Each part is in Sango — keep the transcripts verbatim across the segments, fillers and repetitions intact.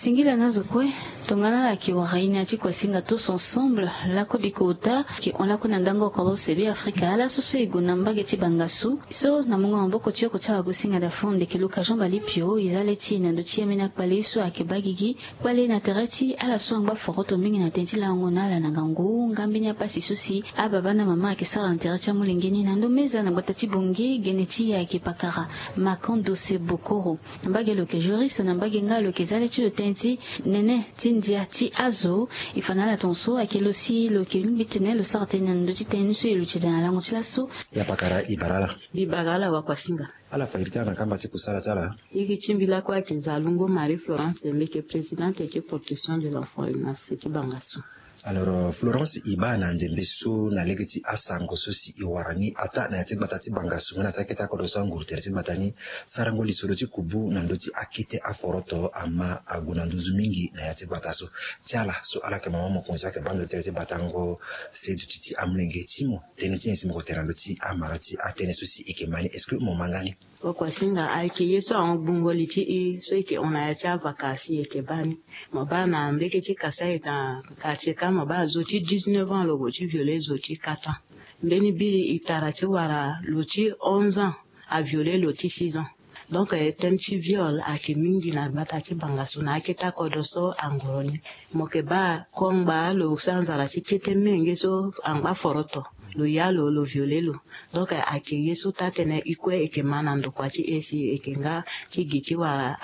Singila na zo kue. Tongana ala yeke wara ye na ya ti kuasinga tous ensemble, lako bikota yeke hon lakue na ndango oko lo sebe afrika ala so so e gue na mbage ti bangasu so na mungo maboko ti oko ti awagosinga dafon ndeke luka jean balipio e za le ti e na ndö ti ambeni akpale so ayeke baa gigi. Kpale na tere ti ala so angba foroto mingi na tënë ti lango na ala na ngangu nga mbeni apasi so si ababa na mama ayeke sara na tere ti amolenge ni na ndö meza na gbata ti bongi gene ti e ayeke pakara. Makando se bokoro. Mbage lo yeke juriste na mbage nga lo yeke za le ti lo tënë ti nene ti ndia ti azo. E fa na ala tongaso ayeke lo si lo yeke lingbi tene lo sara tënë na ndö ti tënë ni so e luti daa na lango ti laso. Ya pakara e bara ala. Mbi bara ala wakuasinga. Ala fa iri ti ala na kamba ti kusala ti ala. Iri ti mbi lakue ayeke zalungo marie florence mbi yeke présidente ti protection de l'enfant na se ti bangasu. Alors florence e baa na ndembe so na lege ti asango so si e wara ni ataa na ya ti gbata ti bangasu nga na ya ti akete akodro so anguru tere ti gbata ni, sarango lisoro ti kubu na ndö ti akete aforoto ama ague na nduzu mingi na ya ti gbata so. Ti ala so ala yeke mama mokonzi ayeke baa ndö ti tere ti batango se duti ti amolenge ti mo tënë ti nyen si mo ko tene na ndö ti amara ti atënë so si e yeke ma ni est ce que mo ma nga ni? Wakuasinga ayeke ye so ahon gbungo li ti e so e yeke hon na ya ti avaka si e yeke baa ni. Mo baa na mbeke ti kasa e ta. Quartier ka mo baa zo ti dix-neuf ans lo gue ti viole zo ti quatre ans. Mbeni biri e tara ti wara lo ti onze ans aviole lo ti six ans. Donc tënë ti viole ayeke mingi na gbata ti bangasu na akete akodro so angoro ni. Mo yeke baa kongba lo sa nzara ti kete menge so angba foroto lo ya lo lo viole lo. Donc ayeke ye so taa tënë e kue e yeke ma na ndokua ti e si e yeke nga ti gi ti wara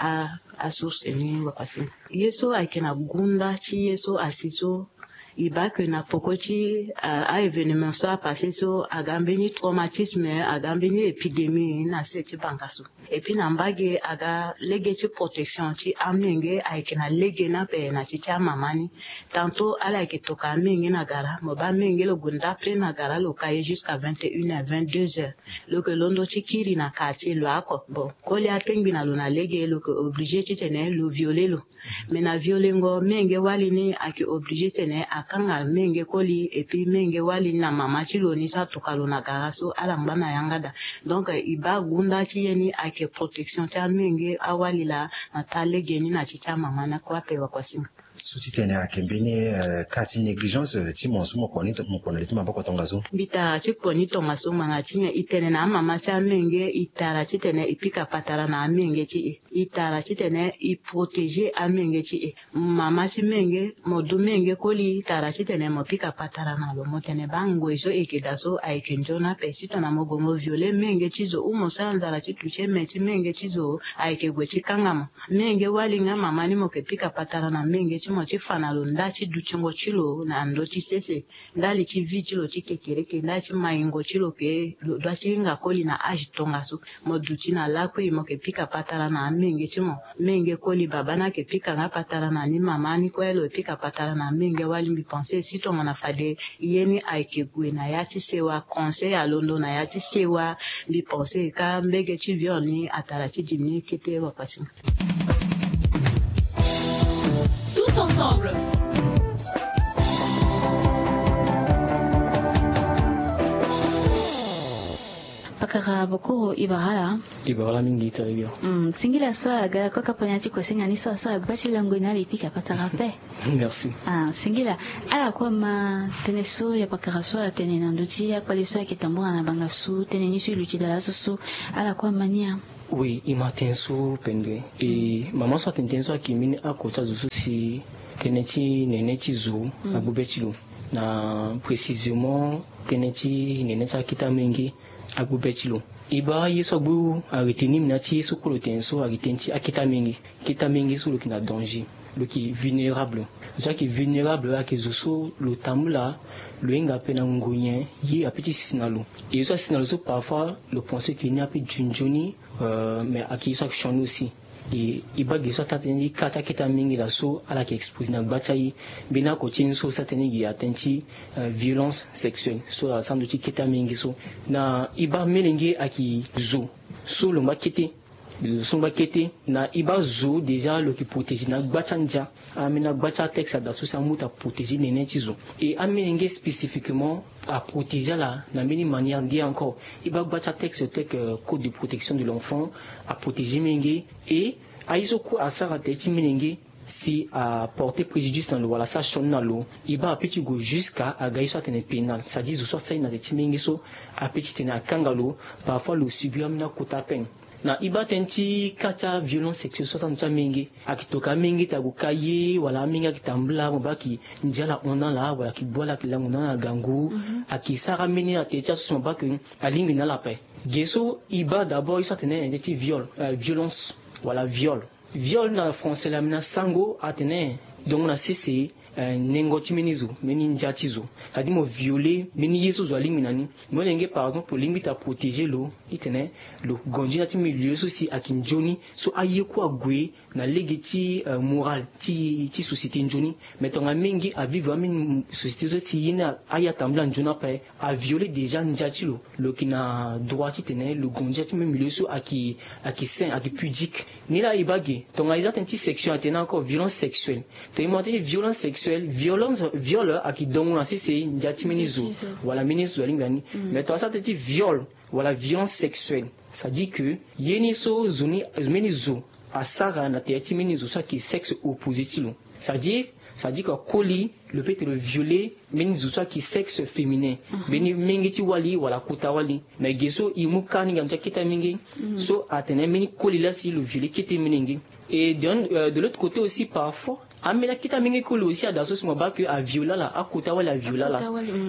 asource ni wakuasinga. Ye so ayeke na gunda ti ye so asi so e baa ke na poko ti a-événement so apasse so aga mbeni traumatisme aga mbeni épidémie na se ti bangasu. Et puis na mbage aga lege ti protection ti amenge ayeke na lege ni ape na ti ti amama ni. Tanto ala yeke toka amenge na gara mo baa amenge lo gue ndapre na gara lo ka ye jusqu'à vingt et une heure vingt-deux heures. Lo yeke londo ti kiri na quartier lo ako bon koli atengbi na lo na lege lo yeke oblige titene lo viole lo. Mais na violengo menge wali ni ayeke oblige titene akanga menge koli et puis menge wali ni na mama ti lo ni so atoka lo na gara so ala ngba na yanga daa. Donc e baa gunda ti ye ni ayeke protection ti amenge awali laa na taa lege ni na ti ti amama ni akue ape wakuasinga. So ti tene ayeke mbeni ka ti négligence ti mo so mo kpo na li ti maboko tongaso. Mbi tara ti kpo ni tongaso ngbanga ti nyen e tene na amama ti amenge e tara titene e pika patara na amenge ti e. E tara titene e protégé amenge ti e. Mama ti menge mo du menge koli tara titene mo pika patara na lo mo tene baa ngoi so e yeke daa so ayeke nzoni ape si tongana mo gue mo viole menge ti zo ou mo sara nzara ti toucher me ti menge ti zo ayeke gue ti kanga mo. Menge wali nga mama ni mo yeke pika patara na menge ti mo ti fa na lo nda ti dutingo ti lo na ndö ti sese. Ndali ti vie ti lo ti kekereke ndali ti maingo ti lo ke lo dua ti hinga koli na age tongaso. Mo duti na lakui mo yeke pika patara na amenge ti mo. Menge koli baba ni ayeke pika nga patara na ni mama ni kue lo yeke pika patara na amenge wali mbi pense si tongana fade ye ni ayeke gue na ya ti sewa conseil alondo na ya ti sewa. Mbi pense ka mbege ti viol ni atara ti dimi ni kete wapasinga. Tous ensemble. Pakara bokoro ibarala. Ibarala mingi ita ibio. Singila so aga koka panya ti kosenga ni so asara gba ti lango na ala epika patara pe. Merci. Singila ala kue ama tënë so ya pakara so ala tene na ndö ti akpale so ayeke tambula na banga so tënë ni so e luti dala so so ala kue ama ni a. Oui e ma tënë so pendue. E mama so atene tënë so ayeke mbeni ako ti azo so si tënë ti nene ti zo agbu be ti lo. Na précisément tënë ti nene ti akete amenge agbu be ti lo. E baa ye so agbu arete ni mi na ti ye so kue lo tene so arete ni ti akete amenge. Kete amenge so lo yeke na danger. Lo yeke vulnérable. Zo so ayeke vulnérable ayeke zo so lo tambula lo hinga ape na ngonyen ye ape ti si na lo. E zo so asi na lo so parfois lo pense ke ni ape nzoni nzoni. Mais ayeke ye so ayeke sioni aussi. E baa ge so ataa tënë ti ka ti akete amenge laa so ala yeke expose na gba ti aye. Mbeni ako ti ye ni so si atene ge atene ti violence sexuelle so asara ndö ti kete amenge so. Na e baa melenge ayeke zo so lo ngba kete. Lo so ngba kete na e baa zo déjà lo yeke protégé na agba ti andia. Ambeni agba ti atexte ada so si amu ti aprotégé nene ti zo. E amenge spécifiquement aprotégé ala na mbeni manière nde encore. E baa agba ti atexte tel que code de protection de l'enfant aprotégé menge. E aye so kue asara tere ti menge. si aporter préjudice na lo wala asara sioni na lo, e baa ape ti gue jusqu'à aga ye so atene pénal, c'est-à-dire zo so asara ye na tere ti menge so ape ti tene akanga lo. Parfois lo subir ambeni akota peine. Na e baa tënë ti ka ti aviolence sexuelle so asara na ndo ti amenge, ayeke toka amenge ti ague ka ye wala amenge ayeke tambula mo baa ayeke ndia ala hon na ala wala ayeke gbu ala ayeke lango na ala na gangu. Ayeke sara ambeni na tere ti aso si mo baa ayeke alingbi na ala ape. Ge so e baa d'abord ye so atene na ndo ti viol, violence wala viol. Viol na français laa ambeni asango atene dongo na sese nengo ti mbeni zo, mbeni ndia ti zo. C'est-à-dire mo violer mbeni ye so zo alingbi na ni. Molenge par exemple olingbi ti aprotéger lo, e tene lo gue nzoni na ya ti milieu so si ayeke nzoni, so aye kue ague na lege ti moral ti société nzoni. Mais tongana mingi avivre ambeni société so si ye ni aye atambula nzoni ape, avioler déjà ndia ti lo. Lo yeke na droit ti tene lo gue ndia ti mbeni milieu so ayeke, ayeke sain, ayeke pudique. Ni laa e baa ge tongana e za tënë ti sexuel atene encore violence sexuelle. Tongana e mu na tënë ti violence sexuelle, violence, viol ayeke dongo na sese ndia ti mbeni zo wala mbeni ye so zo alingbi na ni. Mais tongana asara tënë ti viol wala violence sexuelle, c'est-à-dire que ye ni so zo ni, mbeni zo asara na tere ti mbeni zo so ayeke sexe opposé ti lo. C'est-à-dire, c'est-à-dire que akoli, lo peut ti lo violer mbeni zo so ayeke sexe féminin, mbeni menge ti wali wala kota wali. Mais ge so e mu ka ni nga na ti akete amenge so atene mbeni koli laa si lo violer kete menge. Et de, euh, de l'autre côté aussi, parfois ambeni akete amenge koli aussi ada so si mo baa ke avioler ala, akota wali avioler ala.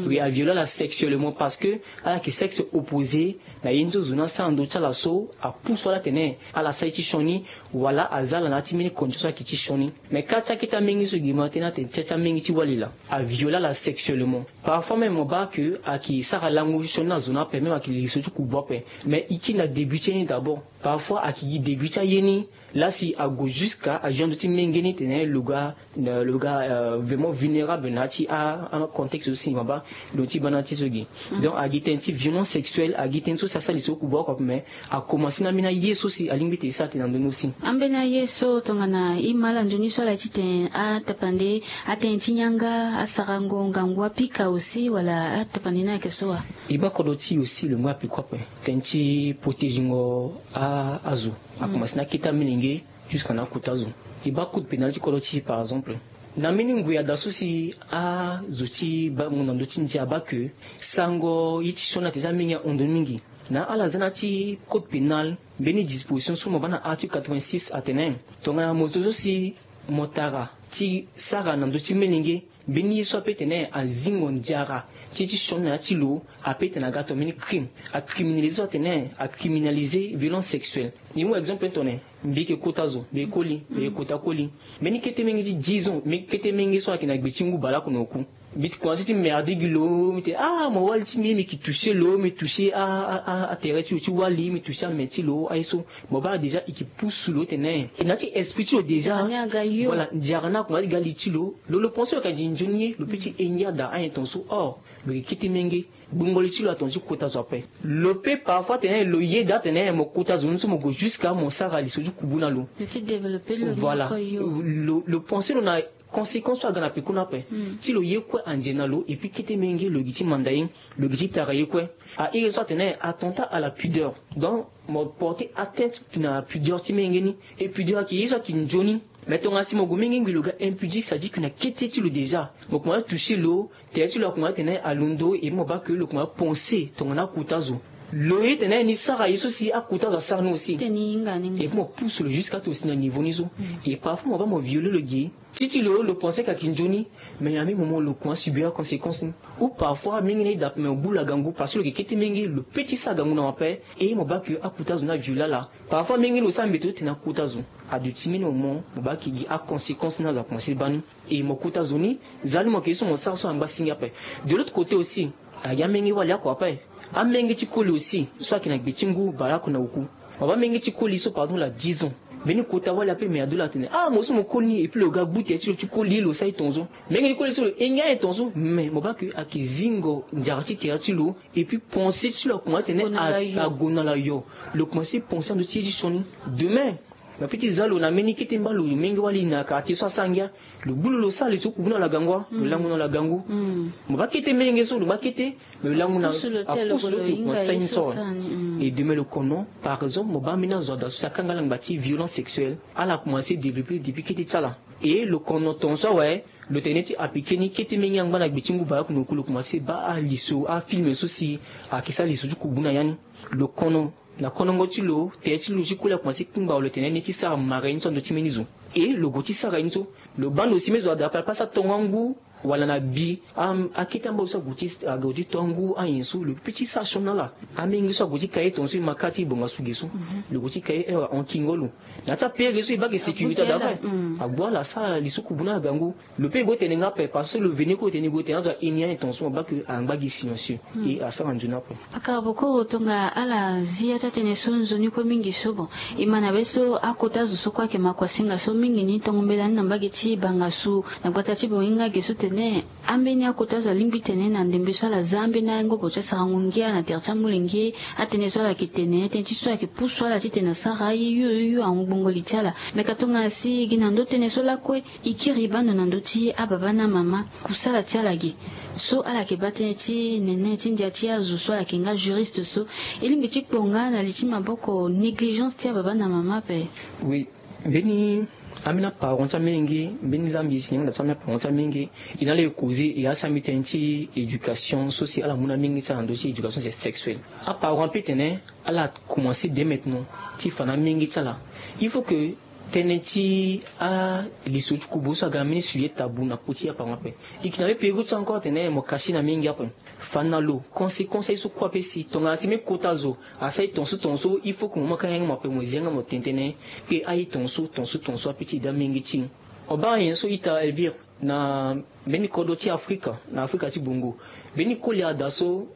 Oui, avioler ala sexuellement parce que ala yeke sexe opposé na ye ni so zo ni asara na ndö ti ala so apusu ala atene ala sara ye ti sioni, wala aza ala na ya ti mbeni condition so ayeke ti sioni. Mais ka ti akete amenge so gi mo atene atene ti, ti amenge ti wali laa avioler ala sexuellement. Parfois même mo baa ke ayeke sara lango ti sioni na zo ni ape, même ayeke lili so ti kubu ape. Mais e kiri na début ti ye ni d'abord. Parfois ayeke gi début ti aye ni laa si ague jusqu'à ajoindre ti menge ni tene lo ga, lo ga vraiment vulnérable na ya ti a, acontexte so si mo baa lo ti baa na ya ti so gi. Donc agi tënë ti violence sexuelle, agi tënë so si asara li so kubu oko ape, mais akomanse na ambeni aye so si alingbi ti sara tene na ndö ni aussi. Ambeni aye so tongana e ma ala nzoni so ala ye ti tene atapande, atënë ti yanga, asarango ngangu apika aussi wala atapande ni ayeke so wa? E baa kodro ti e aussi lo ngu apiko ape. Tënë ti protéger ngo a, azo. Akomanse na akete amilenge jusqu'à na akota zo. E baa code pénal ti kodro ti e par exemple. Na mbeni ngoi ada so si azo ti bango na ndö ti ndia abaa ke sango ye ti sioni na tere ti amenge ahon ndo mingi. Na ala za na ya ti code pénal mbeni disposition so mo baa na article quatre-vingt-six atene tongana mo zo so si mo tara ti sara na ndö ti melenge mbeni ye so ape tene azingo ndiara ti ye ti sioni na ya ti lo, ape tene aga tongana mbeni crime. Acriminaliser so atene acriminaliser violence sexuelle. E mu exemple tongana mbi yeke kota zo, mbi yeke koli, mbi yeke kota koli. Mbeni kete menge ti dix ans, mbeni kete menge so ayeke na gbe ti ngu baleoko na oku. Mbi ti commencer ti merder gi lo, mbi tene ah mo wali ti mbi, mbi yeke toucher lo, mbi toucher a, a, a, atere ti lo ti wali, mbi toucher ame ti lo, aye so. Mo baa déjà e yeke pusu lo tene. E na ya ti esprit ti lo déjà. Voilà, ndiara ni akomanse ti ga li ti lo. Lo, lo pensé lo yeke nzoni ye, lo peut ti engia daa ayen tongaso. Or lo yeke kete menge. Gbungo li ti lo atongaso ti kota zo ape. Lo peut parfois tene lo yeda tene mo kota zo ni so mo gue jusqu'à mo sara li so ti kubu na lo. Lo ti développer lo. Voilà. Lo, lo pensé lo na conséquence so aga na peko ni ape. Ti lo ye kue anze na lo, et puis kete menge lo gi ti manda ye, lo gi ti tara ye kue. A iri so atene attentat à la pudeur. Donc mo porter atteinte na pudeur ti menge ni. Et pudeur ayeke ye so ayeke nzoni. Mais tongana si mo gue menge ngbi lo ga impudique, c'est-à-dire que na kete ti lo déjà mo komanse toucher lo, tere ti lo akomanse tene alondo, et puis mo baa ke lo komanse pensé tongana akota zo. Lo ye tene ni sara ye so si akota zo asara ni aussi. Et puis mo pusu lo jusqu'à ti lo si na niveau ni so. Et parfois mo baa mo violer lo gi. Ti ti lo, lo pensé ke ayeke nzoni. Mais na même moment lo komanse subir aconséquence ni. Ou parfois mingi na ida ape, mais mo gbu lo agangu parce que lo yeke kete menge, lo peut ti sara gangu na mo ape. Et mo baa ke akota zo ni avioler ala. Parfois mingi lo sara mbeto ti tene akota zo. Aduti même moment mo baa ke gi aconséquence ni azo akomanse baa ni. Et mo kota zo ni, za ni mo yeke ye so mo sara so angba singi ape. De l'autre côté aussi, agi amenge wali oko ape. Amenge ti koli aussi so ayeke na gbe ti ngu baleoko na oku. Mo baa menge ti koli so par exemple à dix ans, mbeni kota wali ape me adu lo atene ah mo so mo koli ni, et puis lo ga gbu tere ti lo ti koli ye, lo sara ye tongaso. Menge ti koli so lo engia ayen tongaso, mais mo baa ke ayeke zingo ndiara ti tere ti lo. Et puis pensé ti lo akomanse tene ague na lo ayo. Lo komanse pensé na ndö ti ye ti sioni. Demain lo peut ti za lo na mbeni kete mba lo menge wali na quartier so asara ngia. Lo gbu lo, lo sara li so kubu na lo agangu, lo lango na lo agangu. Mo baa kete menge so lo baa kete, lo lango na apusu lo ti lo komanse sara ni so. Et demain lo kono, par exemple, mo baa ambeni azo ada so si akanga ala ngba ti violence sexuelle, ala commencer développer depuis kete ti ala. Et lo kono tongaso awe, lo tene ti appliquer ni kete mingi angba na gbe ti ngu baleoko na oku lo commencer baa aliso, afilme so si ayeke sara liso ti kubu na ya ni. Lo kono, na konongo ti lo, tere ti lo ti kue la commencer kpingba lo tene ni ti sara marengo so na ndö ti mbeni zo. Et lo gue ti sara ye ni so, lo baa ndo si mbeni zo ada ape ape asara tongo angu, wala na bi, am, akete amba lo so ague ti, ague ti to angu ayen so, lo peut ti sara sioni na ala. Amenge so ague ti ka ye tongaso e ma kâ ti bongasu ge so. Lo gue ti ka ye heure ahon kingo lo. Na ya ti apere so e baa ge sécurité ada ape. Agbu ala asara liso kubu na ala gangu. Lo peut e gue tene nga ape parce que lo veni kue lo tene e gue tene azo aye ni ayen tongaso mo baa ke angba gi silencieux. E asara nzoni ape. Pakara bokoro tonga ala zi ya ti atene so nzoni kue mingi so bon. E ma na be so akota zo so kue ayeke makuasinga so mingi ni tongo mbela ni na mbage ti bangasu na gbata ti bonginga ge so tene ambeni akota zo alingbi tene na ndembe so ala za ambeni angobo ti asarango ngia na tere ti amolenge. Atënë so ala yeke tene tënë ti so ayeke pusu ala titene asara aye yo yo yo ahon gbongo li ti ala. Me ka tongana si e gi na ndö tënë so lakue, e kiri bando na ndö ti ababa na amama kusala ti ala ge. So ala yeke baa tënë ti nene ti ndia ti azo so ala yeke nga juriste so, e lingbi ti kpo nga na li ti maboko négligence ti ababa na amama ape. Oui. Mbeni ambeni aparent ti amenge, mbeni lambi si nyanga da ti ambeni aparent ti amenge. E na ala e causer e asi ambi tënë ti éducation so si ala mu na amenge ti ala na ndö ti éducation sexuelle. Aparent ape tene ala commencer dès maintenant ti fa na amenge ti ala. Il faut que tënë ti aliso ti kubu so aga na mbeni sujet tabou na kpo ti aparent ape. E yeke na mbeni période ti encore atene mo kasi na amenge ape. Fa na lo conséquence aye so kue ape si tongana si mbeni kota zo asara ye tongaso tongaso, il faut que mo mu akanga yanga mo ape mo zi yanga mo tene tënë ke aye tongaso tongaso tongaso ape ti daa amenge ti. Mo baa nyen so ita Elvire na mbeni kodro ti Afrika, na Afrika ti bongo. Mbeni koli ada so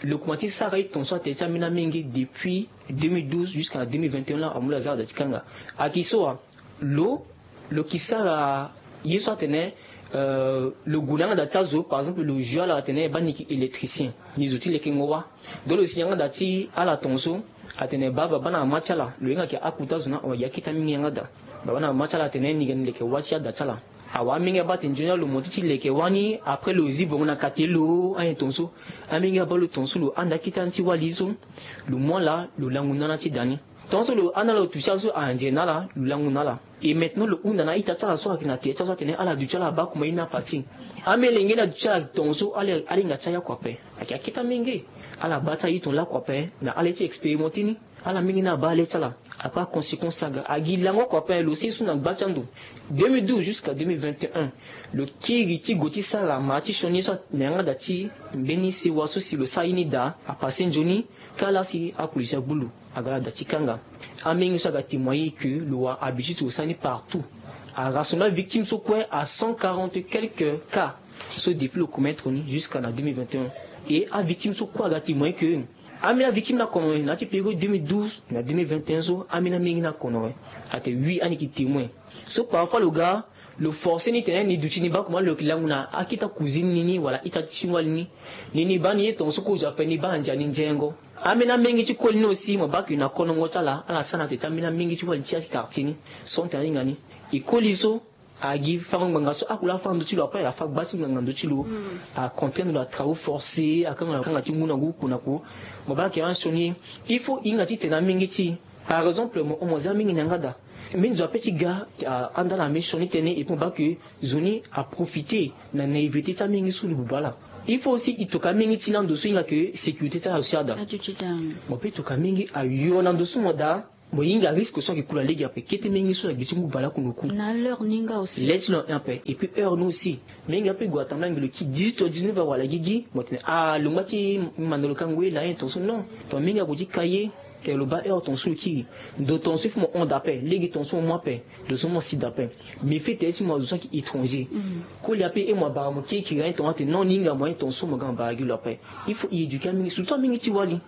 lo kuma ti sara ye tongaso atene ti ambeni amenge depuis deux mille douze jusqu'à deux mille vingt et un la amu lo aza ada ti kanga. Aki so wa lo, lo ki sara ye so atene, euh, lo gue na yanga da ti azo, par exemple, lo jugé ala atene baa ni yeke électricien, ni zo ti lekengo wâ. Donc lo si yanga da ti ala tongaso atene baa baba na mama ti ala, lo hinga yeke akota zo ni awe, akete mingi yanga da. Baba na mama ti ala atene ni ga ni leke wâ ti ada ti ala. Awa amenge abaa atene nzoni ala lo monté ti leke wâ ni, après lo zi bongo na kate lo ayen tongaso. Amenge abaa lo tongaso, lo handa akete ni ti wali so. Lo mu ala, lo langu na ala ti da ni. Tongaso lo handa ala lo tu ti ala so andiere na ala, lo langu na ala. Et maintenant lo hunda na a-ita ti ala so ayeke na tere ti ala so atene ala duti ala abaa kuma ye ni apasé. Amelenge ni aduti ala tongaso, ala, ala hinga ti aya kua ape. Ayeke akete amenge. Ala baa ti aye tongana lakue ape na ala ye ti expérimenté ni. Ala mingi ni abaa ala ye ti ala. Après aconséquence aga agi lango oko ape, lo seni so na gba ti ando. Deux mille douze jusqu'à deux mille vingt et un, lo kiri ti gue ti sara mara ti sioni ye so na yanga da ti mbeni sewa so si lo sara ye ni daa apasé nzoni. Kâ laa si apolisi agbu lo, aga na da ti kanga. Amenge so aga témoigner que lo wara habitude lo sara ni partout. Arassemble avictime so kue à cent quarante quelques cas. So depuis lo commettre ni jusqu'à na deux mille vingt et un. Et avictime so kue aga témoigner que ambeni avictime ni akono na ya ti période deux mille douze na deux mille vingt et un so, ambeni amenge ni akono. Atene oui, ani yeke témoin. So parfois lo ga, lo forcé ni tene ni duti ni baa kuma lo yeke langu na akete cousine ni ni wala ita ti wali ni. Ni ni baa ni ye tongaso kozo ape, ni baa andia ni nzengo. Ambeni amenge ti koli ni aussi mo baa ke na konongo ti ala, ala sara na tete ti ambeni amenge ti wali ti quartier ni. Son tene ahinga ni. E koli so agi fango ngbanga so akula afa na ndö ti lo ape, afa gba ti ngbanga na ndö ti lo. Acomprendre lo na travaux forcés, akanga lo akanga ti ngu na ngu, ku na ku. Mo baa ayeke asioni. Il faut e hinga titene amenge ti e, par exemple, mo hon mo za mingi na yanga da. Mbeni zo ape ti ga, ahanda ala mbeni sioni tënë, et puis mo baa ke zo ni aprofité na naïveté ti amenge so lo buba ala. Il faut aussi e toka amenge ti e na ndo so e hinga ke sécurité ti ala aussi ada. Mo peut toka amenge ayo na ndo so mo daa. Mo hinga risque so ayeke kula lege ape, kete menge so na gbe ti ngu baleoko na oku. Na l'heure ni nga aussi. Laisse lo un peu. Et puis heure ni aussi. Menge ape gue atambula ngbelo ki dix-huit heures, dix-neuf heures wala gigi, mo tene ah, lo ngba ti manda lo ka ngoi la ye tongaso, non. Tongana menge ague ti ka ye, tene lo baa heure tongaso lo kiri. Ndo tongaso il faut mo hon daa ape, lege tongaso mo mu ape, ndo so mo si daa ape. Mais fete ti mo azo so ayeke étranger. Koli ape e mo abara mo kiri kiri aye tongaso atene non, ni hinga mo aye tongaso mo ga mo bara gi lo ape. Il faut e éduquer amenge, surtout amenge ti wali.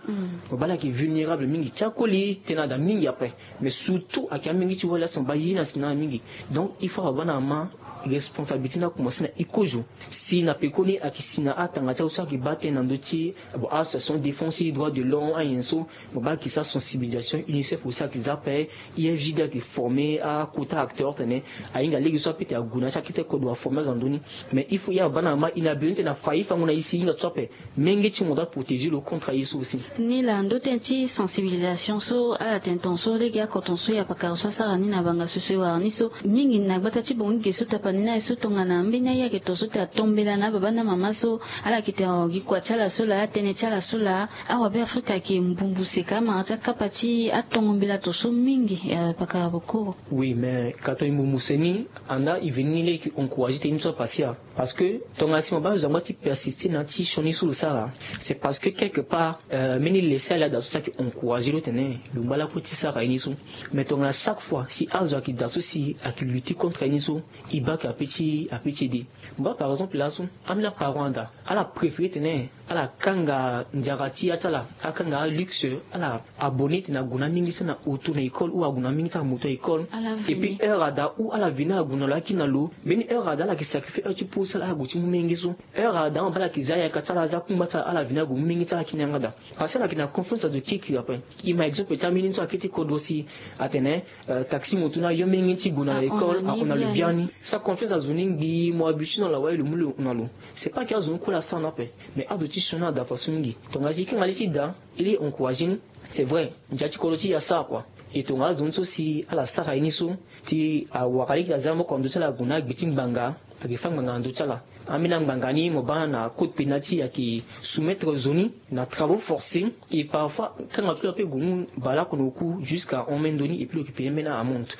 Mo baa ala yeke vulnérable mingi ti akoli tënë ada mingi ape. Mais surtout ayeke amenge ti wali asi mo baa ye ni asi na ala mingi. Donc il faut ababa na mama responsabilité ni akomanse na e kozo. Si na pekoni ayeke si na atanga ti azo so ayeke baa tënë na ndö ti, bon, association défense droit de l'homme ayen so, mo baa ayeke sara Sensibilisation, UNICEF aussi ayeke za ape. I F J D ayeke former akota acteur tene ahinga lege so apete ague na ya ti akete kodro aformer azo na ndö ni. Mais il faut ya baba na mama i na bino tene afa i fango na i si i hinga ti so ape. Menge ti mo doit protéger lo contre aye so aussi. Ni laa ndö tënë ti sensibilisation so ala tene tongaso lege oko tongaso ya pakara so asara ni na banga so so e wara ni so mingi na gbata ti bongo ge so tapani na ye so tongana mbeni aye ayeke tongaso te atombela na ababa na amama so ala yeke tene gi kua ti ala so laa tënë ti ala so laa. Awabe afrika ayeke mbumbu seka amara ti akapa ti atongo mbela tongaso mingi. Pakara bokoro. Oui mais ka tongana e mbumbu seni anda e veni ni lege e encourager tënë ni so apasia. Parce que tongana si mo baa zo angba ti persister na ya ti sioni so lo sara, c'est parce que quelque part mbeni laisser aller ada so si ayeke encourager lo tene lo ngba lakue ti sara ye ni so. Mais tongana chaque fois si azo ayeke da so si ayeke lutter contre ye ni so, e baa ke ape ti ape ti ede. Mo baa par exemple laso ambeni aparent ada ala préférer tene ala kanga ndiara ti ya ti ala, akanga aluxe, ala abonner tene ague na mingi ti ala na auto na école ou ague na mingi ti ala moto na école. Et puis heure ada ou ala veni ague na lo akiri na lo, mbeni heure ada ala yeke sacrifier heure ti pose ti ala ague ti mu menge so. Heure ada amba ala yeke za yaka ti ala aza kungba ti ala ala veni ague mu menge ti ala akiri na yanga ada. Parce que ala yeke na confiance azo kiri kiri ape. E ma exemple ti ambeni so akete kodro si atene taxi moto ni ayo menge ti gue na école ahon na lo biani. Sa confiance azo ni ngbii mo habituer na lo awaye lo mu lo hon na lo. C'est pas ke azo ni kue laa asara ni ape. Mais azo ti sioni ada façon mingi. Tongana si e kanga li ti da e lege e encourager ni. C'est vrai ndia ti kodro ti e asara kua. E tongana azo ni so si ala sara ye ni so ti awara lege ti aza moko na ndö ti ala ague na agbe ti ngbanga. Ayeke fâ ngbanga na ndö ti ala. Ambeni angbanga ni mo baa na code pénal ti e ayeke soumettre zo ni na travaux forcés. Et parfois kanga ti lo ape gue mu baleoko na oku jusqu'à hon même ndö ni et puis lo yeke payer ambeni amende.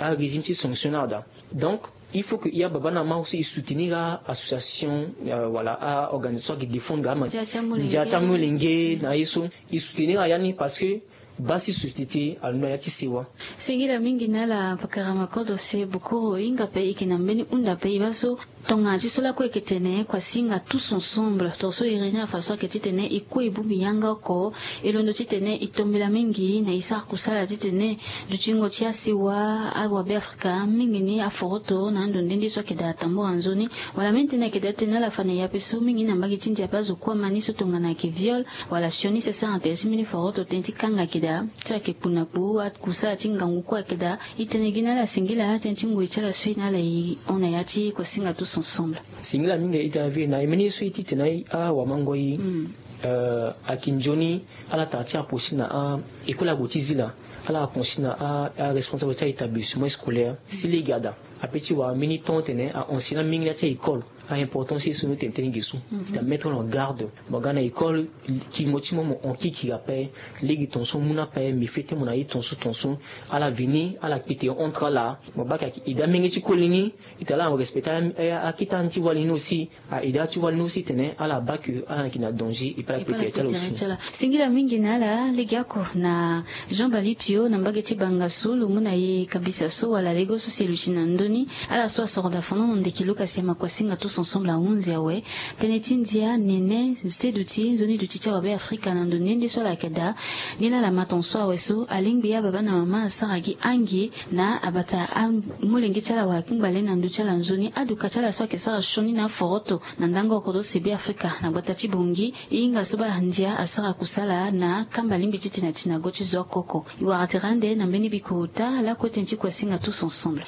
Arégime ti sanction ni ada. Donc il faut que ya baba na mama aussi e soutenir a association wala a organisation ayeke défendre ama ndia ti amolenge na ye so. E soutenir aya ni parce que baa si société alondo na ya ti sewa. Singila mingi na ala pakara makodo se bokoro e hinga ape e yeke na mbeni hunda ape e baa so. Tongana ti so lakue e yeke tene kuasinga tous ensemble tongaso e réunir afa so ayeke titene e kue e bongbi yanga oko. E londo titene e tombela mingi na e sara kusala titene dutingo ti asewa awabe afrika mingi ni aforoto na ando nde nde so ayeke daa tambura nzoni. Wala mbeni tënë ayeke daa titene ala fa na e ape so mingi na mbage ti ndia ape azo kue ama ni so tongana ayeke viol wala sioni si asara na tere ti mbeni foroto tënë ti kanga ayeke daa. Ti ayeke kpu na kpu akusala ti ngangu kue ayeke daa. E tene gi na ala singila tënë ti ngoi ti ala so e na ala e hon na ya ti kuasinga tous ensemble. Singila mingi e tene avi na e mbeni ye so e titene awamango e. Ayeke nzoni ala tara ti approcher na a école ague ti zila. Ala approcher na aresponsable ti a établissement scolaire si lege ada ape ti wara mbeni temps tene a enseigner mingi na ya ti a école. A importance ye so ni tene tënë ge so ti amettre en garde. Mo ga na école, kingo ti mo mo hon kikiri ape. Lege tongaso mu ni ape mbi fete mo na ye tongaso tongaso. Ala veni ala kpete entre ala. Mo baa ke ayeke aide amenge ti koli ni. Ita laa mo respecter akita ni ti wali ni aussi. Aide ati wali ni aussi tene ala baa ke ala yeke na danger et puis ala kpete ya ti ala aussi. Singila mingi na ala legeoko na jean bali pio na mbage ti banga so lo mu na e kabisa so wala lego so si e luti na ndö ni. Ala so asoro da fano na ndeke luka si ama kuasinga tous ensemble ahunzi awe. Tënë ti ndia nene se duti nzoni duti ti awabe afrika na ndo nde nde so ala yeke daa. Nilaa ala ma tongaso awe so alingbi ababa na mama asara gi angi na abata amolenge ti ala wala kungba le na ndö ti ala nzoni aduka ti ala so ayeke sara sioni na aforoto na ndango oko to sebe afrika na gbata ti bongi. E hinga so baa ndia asara kusala na kamba lingbi ti tene ati na go ti zo oko oko. E wara tere ande na mbeni bikota lakue tënë ti kuasinga tous ensemble.